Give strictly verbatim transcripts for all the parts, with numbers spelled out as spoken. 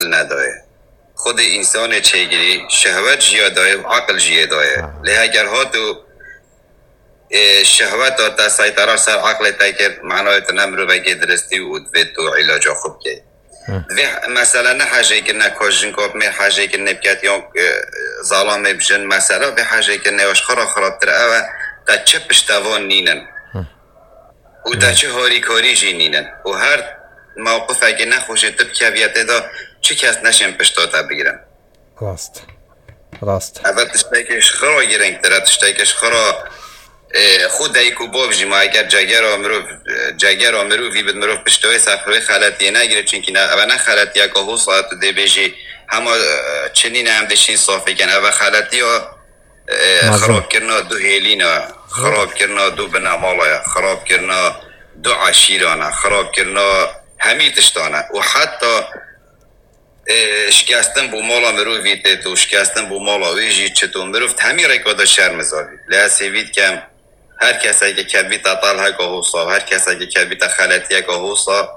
nedaye. Xwedê însanê çêgirî, şehwet jî ya daye û aqil jî yê daye. Lê heger hat û, e, şehweta te seytera ser aqlê te kir, manayê tu ne mirovekê diristî û divê tu îlaca xwe bikey. Divê mesele ne hejêkirine ka jinka bi mêr hejêkirine biket yan, e, zalamê bi jin, mesele vê hejêkirine ya ji xwe re xirabtir ew e, te çi piştevan nînin. Û te çi harîkarî jî nînin. Û her mewqifekê nexweşê tu bikeviyetê de çi kes neşên pişta te bigirin. Rast. Rast. Eve tiştekê ji xira girîngtir e, tiştekê ji xira, e, xwe dayik û bav jî ma eger cegera mirov, e, cegera mirovî bid mirov pişta wê ser wê xeletiyê negire, çunkî ne, eve ne xeletiyeke hosa tu dê bêjî hema, e, çinî ne em dişîn safî kin. Eve xeletiya, e, Mezin. Xirabkirina du hêlîna, xirabkirina du binemala ye, xirabkirina du eşîran e, xirabkirina hemî tiştan e. Û heta, e, şikestin bo mala mirovî tê tu, şikestin bo mala wê jî çi tu, mirov di hemî rêka de şermizar bî. Lê ez hêvî dikem, her keseke kevbîte telheka hosa û her keseke kevbîte xeletiyeka hosa,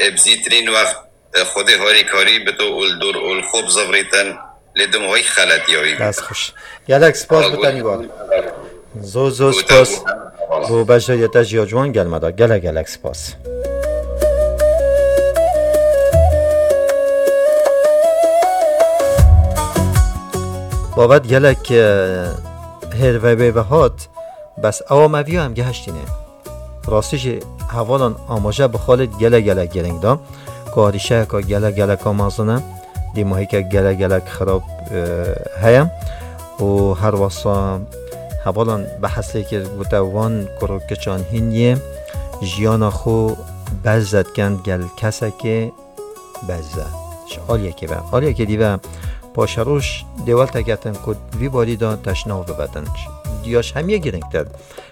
e, bi zîtirîn wext, e, Xwedê harîkarî bito û li dor û li xwe bizivirîtin, lê dima wek xeletiya wî bî. Dest xweş. Gelek spas bi tenî got. Zor, zor spas. Bo beşdariyê te jî ya ciwan gel me da. Gelek, gelek spas. Babet gelek, e, hêr ve bê ve hat, bes ewa me viya em gehiştîne. Rastî jî hevalan amaje bi Xalid gelek gelek girîng da. Ku arîşeyeka gelek gelek mezin e, dîmahîke gelek gelek xirab, e, heye. Û her wesa hevalan behsê kir, gote wan kuro kiçan hîn yê jiyana xwe berze dikin gel kesekê berze. Ji aliyekê ve. Aliyekê dî ve paşeroj dê welteketin ku vî barî de teşnav bibetin. Ya ji hemiyê girîngtir.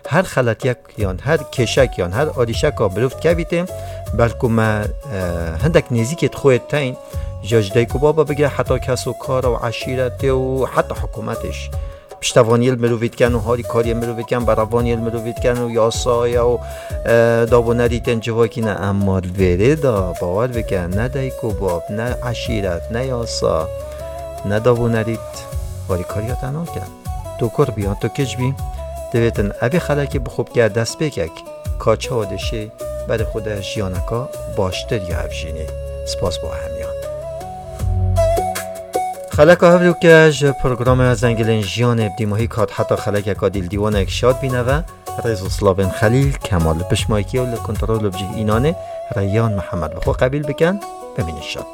Her xeletiyek yan her kêşek yan her alîşeka mirov dikevîtê, belku me, e, hindek nêzîkê di xwe teyn, ji, ji dayik û baba bigire heta kes û kar û eşîretê û heta hikûmetê jî. Piştevaniyê li mirovî dikin û harîkariyê mirovî dikin, berevaniyê li mirovî dikin û yasaya û, e, dav û nerîtên civakî ne. Emma li vêrê de bawer bike, ne dayik û bab, ne eşîret, ne yasa, ne dav û nerît harîkariya te nake. Tu kur bî yan tu kiç bî, divêtin evê xelekê bi xwe bike destpêkek, ka çawa dişê berê xwe de jiyaneka baştir ya hevjînê. Spas bo hemiyan. Xeleka hevlûke ji programa Zengilên Jiyanê bi dîmahî kat heta xelekeka dîl dîwanek şad bîne ve, rêz û slavên Xelîl, Kemal li pişt maykê û li kontrol û bi cih înanê Reyyan Mihemed bi xwe qebîl bikin, bimînin şad.